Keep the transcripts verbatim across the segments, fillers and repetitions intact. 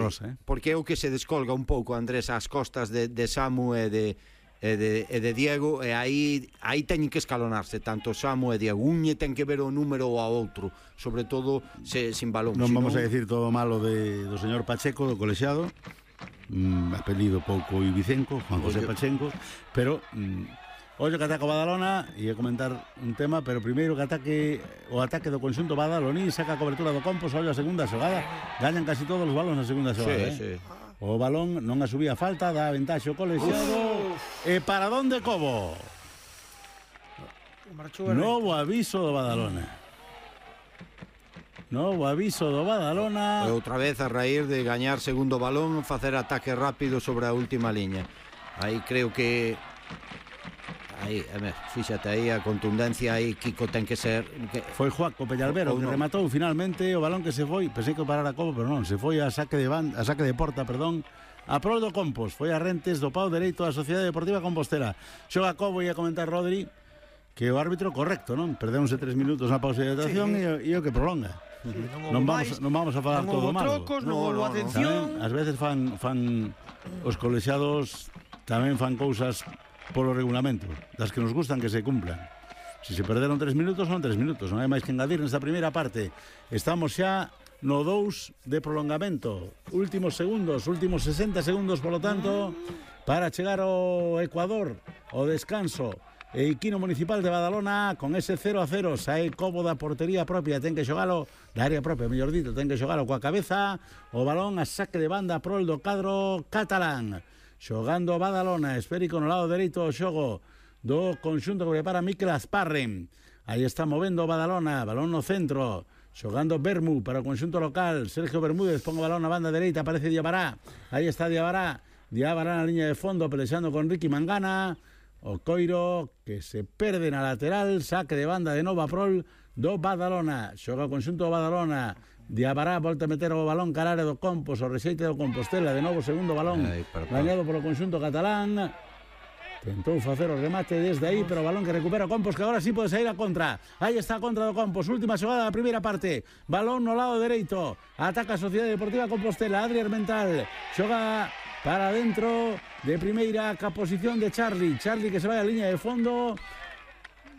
rosa, eh? Porque é o que se descolga un pouco, Andrés, ás costas de, de Samu e de e de, e de Diego, e aí aí teñen que escalonarse tanto Samu e Diego. Unhe ten que ver o número ao outro, sobre todo se, sin balón. Non si vamos non... a decir todo malo de, do señor Pacheco, do colexiado, mm, apelido pouco ibicenco, Juan José Oye. Pacheco, pero mm, ollo que ataca o Badalona, e a comentar un tema, pero primeiro que ataque o ataque do conxunto badaloní, saca a cobertura do Compos, ollo a segunda xogada, gañan casi todos os balóns na segunda xogada, sí, eh? sí. O balón non a subía falta, dá ventaxe o colexiado. E para onde Cobo? Novo aviso do Badalona. Novo aviso do Badalona. E outra vez a raíz de gañar segundo balón, facer ataque rápido sobre a última liña. Aí creo que aí, a ver, fíxate aí a contundencia aí, Kiko ten que ser que... Foi Joaco Peñalbero que no. rematou finalmente o balón que se foi, pensei que parara Cobo, pero non, se foi a saque de banda, a saque de porta, perdón, a prol do Compos, foi a Rentes do pau dereito da Sociedade Deportiva Compostela. Xoga Cobo e a comentar Rodri que o árbitro correcto, non? Perdéronse tres minutos na pausa de hidratación, sí, e, e o que prolonga. Sí, non, non, vamos, non vamos a falar non todo malo. Trocos, non houve atención. Ás veces fan, fan os colexiados tamén fan cousas polo regulamento, das que nos gustan que se cumplan. Se se perderon tres minutos, son tres minutos, non hai máis que engadir nesta primeira parte. Estamos xa no dous de prolongamento. Últimos segundos, últimos sesenta segundos, polo tanto, para chegar ao Ecuador, ao descanso. Equino Municipal de Badalona con ese cero a cero, sae Cobo da portería propia, ten que xogalo da área propia, mellor dito, ten que xogalo coa cabeza, o balón a saque de banda prol do cadro catalán. Xogando Badalona, esférico no lado dereito o xogo do conxunto que prepara Mikel Asparren. Aí está movendo o Badalona, balón no centro, xogando Bermú para o conxunto local. Sergio Bermúdez pon o balón na banda dereita, aparece Diabará. Aí está Diabará, Diabará na liña de fondo pelexando con Ricky Mangana. O Coiro que se perde na lateral, saque de banda de nova prol do Badalona. Xoga o conxunto do Badalona. Diabará volta a meter o balón cara área do Compos, o rexeite do Compostela, de novo segundo balón gañado polo conxunto catalán. Tentou facer o remate desde aí, pero o balón que recupera o Compos, que agora sí pode sair a contra. Aí está a contra do Compos, última xogada da primeira parte. Balón no lado dereito, ataca a Sociedade Deportiva Compostela. Adri Armental xoga para dentro de primeira ca posición de Charlie. Charlie que se vai a liña de fondo.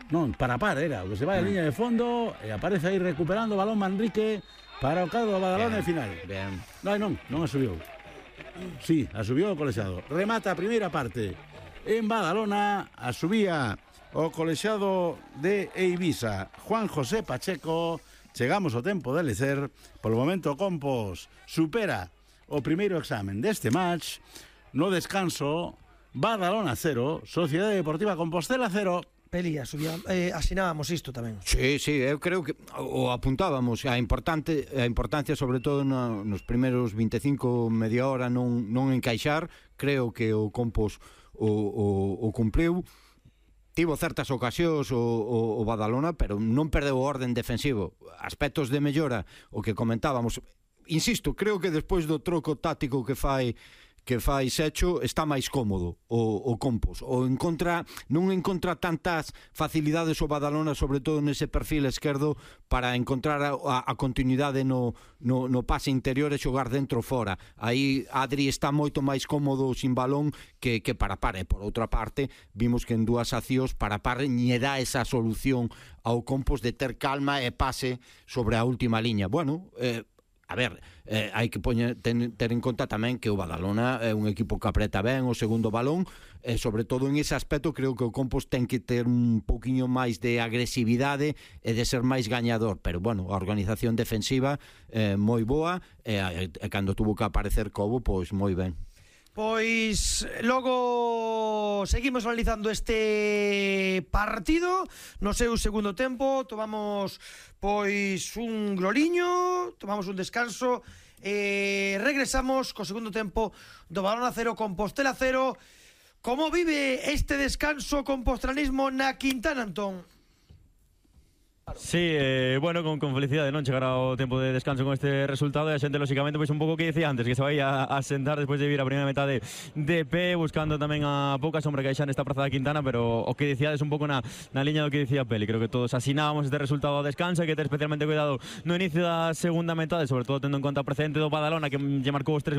Non, para par era, o que se vai a liña de fondo e aparece aí recuperando o balón Manrique para o cadro do Badalona e final. Ben. Non, non, non a subiu. Sí, a subiu o colexiado. Remata a primeira parte en Badalona, a subía o colexiado de Eivisa, Juan José Pacheco. Chegamos ao tempo de lecer. Polo momento Compos supera o primeiro examen deste match. No descanso, Badalona cero, Sociedade Deportiva Compostela cero. Peli, asubía, eh, asinábamos isto tamén. Sí, sí, eu creo que o apuntábamos a importante a importancia sobre todo no, nos primeiros vinte e cinco, media hora non non encaixar. Creo que o Compos o, o, o cumpriu. Tivo certas ocasións o, o, o Badalona, pero non perdeu o orden defensivo. Aspectos de mellora, o que comentábamos. Insisto, creo que despois do troco táctico que fai que fai Secho, está máis cómodo o, o Compos, o encontra, non encontra tantas facilidades o Badalona, sobre todo nese perfil esquerdo, para encontrar a, a, a continuidade no, no, no pase interior e xogar dentro fora. Aí Adri está moito máis cómodo sin balón que, que para par, e por outra parte vimos que en dúas accións para par lle dá esa solución ao Compos de ter calma e pase sobre a última liña. Bueno, eh, a ver, eh, hai que poñer, ten, ter en conta tamén que o Badalona é un equipo que apreta ben o segundo balón, e sobre todo en ese aspecto creo que o Compos ten que ter un pouquiño máis de agresividade e de ser máis gañador, pero bueno, a organización defensiva eh, moi boa, e, e, e cando tuvo que aparecer Cobo, pois moi ben. Pois logo seguimos analizando este partido no seu segundo tempo. Tomamos pois un gloriño, tomamos un descanso e regresamos co segundo tempo do Badalona cero, Compostela cero. Como vive este descanso compostranismo na Quintana, Antón? Sí, eh, bueno, con, con felicidade, non chegar ao tempo de descanso con este resultado, e a xente, lóxicamente, pois un pouco que dicía antes, que se vai a, a sentar despois de vir a primeira metade de pé, buscando tamén a pouca sombra que hai xa nesta praza da Quintana, pero o que dicíades un pouco na, na liña do que dicía Peli, creo que todos asinábamos este resultado ao descanso, e que ter especialmente cuidado no inicio da segunda metade, sobre todo tendo en conta o precedente do Badalona, que lle marcou os tres